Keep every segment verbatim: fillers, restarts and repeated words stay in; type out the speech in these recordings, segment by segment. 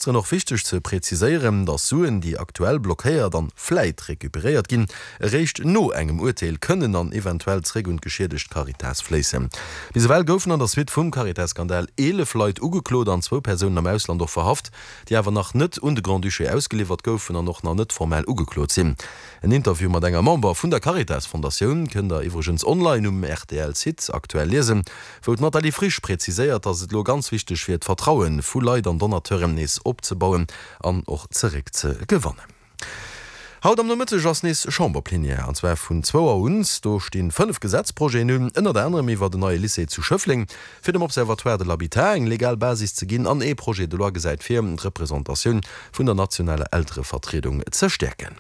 Ministeren och wichteg ze präziséieren, datt Suen, déi aktuell blockéiert an vläit recuperéiert ginn, eréischt no engem Urteel kënnen an eventuell zeréck un d'geschiedegt Caritas fléissen. Bis ewell goufen an der Suite vum Caritas-Skandal eelef Leit ugeklot an zwou Persounen am Ausland och verhaft, déi awer nach net un de Grand-Duché ausgeliwwert goufen an och nach net formell ugeklot sinn. En Interview mat enger Member vun der Caritas-Fondatioun kënnt der iwwregens online um R T L-Site aktuell liesen, wou d'Nathalie Frisch präziséiert, datt et elo ganz wichteg wier, d'Vertraue vu Leit an Donateuren nees opzebauen an och zeréck ze gewannen. Haut am Nomëtteg ass nees Chamberplenière, an zwar vun zwou Auer un. Do stinn fënnef Gesetzprojeten un, ënnert anerem iwwer den neie Lycée zu Schëffleng, fir dem Observatoire de l'Habitat eng legal Basis ze ginn, an ee Projet de loi gesäit vir, d'Representatioun vun der nationaler Elterevertriedung ze stäerken.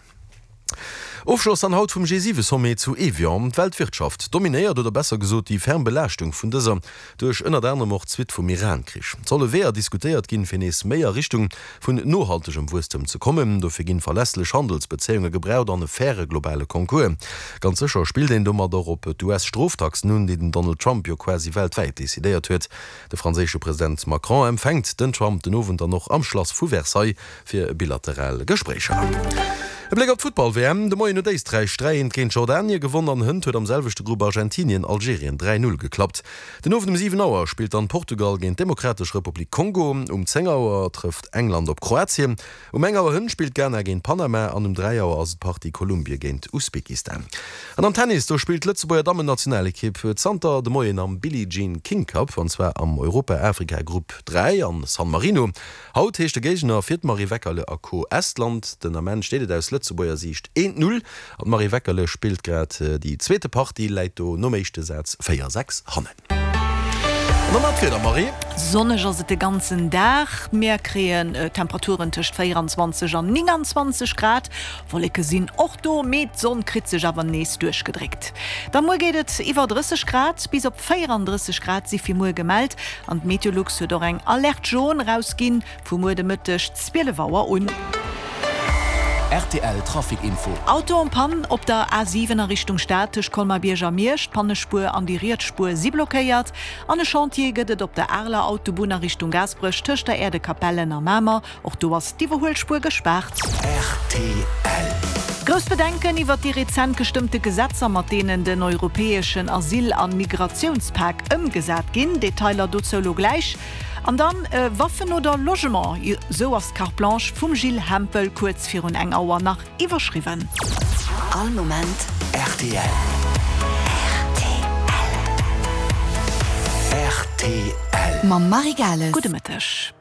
Ofschloss dann haut vum G siwe Sommet zu Evian. D'Weltwirtschaft dominéiert, oder besser gesot déi ferm Belaaschtung vun dëser duerch ënnert anerem och d'Suite vum Iran-Krich. Et solle Weeër diskutéiert ginn, fir nees méi a Richtung vun nohaltegem Wuesstem ze kommen. Dofir ginn verlässlech Handelsbezéiunge gebraucht an e faire globale Concours. Ganz sécher spillt een domat och op d'U S-Stroftaxen un, déi den Donald Trump jo quasi weltwäit decidéiert huet. De franséische President Macron empfänkt den Trump den Owend dann och am Schlass vu Versailles fir bilateral Gespréicher. E Bléck op d'Futtball-W M. De Moien huet Éisträich dräi eent géint Jordanie gewonn an hënt huet am selwechte Grupp Argentinien Algerien dräi null geklappt. Den Owend um siwen Auer spillt dann Portugal géint d'Demokratesch Republik Kongo, um zéng Auer trëfft England op Kroatien, um eng Auer hënt spillt Ghana géint Panama an um dräi Auer ass et d'Partie Kolumbie géint Usbekistan. An am Tennis, do spillt d'Lëtzebuerger Dammennationalekipp zanter de Moien am Billie Jean King Cup, an zwar am Europa-Afrika-Grupp dräi an San Marino. Haut heescht de Géigner fir d'Marie Weckerle a Co. Estland. Den Ament steet et aus Lëtzebuerger Siicht eent Null an d'Marie Weckerle spillt grad déi zweete Partie, läit do nom éischte Saz véier sechs hannen. An dann nach d'Wieder, Marie. Sonneg ass et de ganzen Dag. Mir kréien Temperaturen tëscht véieranzwanzeg an nénganzwanzeg Grad. Wolleke sinn och do, mee d'Sonn kritt sech awer nees duerchgedréckt. Da muer geet et iwwer drësseg Grad, bis op véierandrësseg Grad si fir muer gemellt an d'Meteolux huet och eng Alerte jaune erausginn vu muer de Mëtteg zwielef Auer un. R T L Trafic Info. Auto en panne op der A siwen a Richtung Stad tëscht Colmar-Bierg a Miersch. D'Pannespuer an déi riets Spuer si blockéiert. An e Chantier gëtt et op der Areler Autobunn a Richtung Gaasperech tëscht der Aire de Capellen a Mamer. Och do ass d'Iwwerhuelspuer gespaart. R T L. Grouss Bedenken iwwer déi rezent gestëmmte Gesetzer, mat deenen den europäeschen Asyl a Migratiounspak ëmgesat ginn. Detailer dozou lo gläich. An dann Waffen oder Logement, esou ass d'Carte Blanche vum Gilles Hempel kuerz virun eng Auer nach iwwerschriwwen. All Moment R T L. R T L. R T L. Mam Marie Gales. Gudde Mëtteg.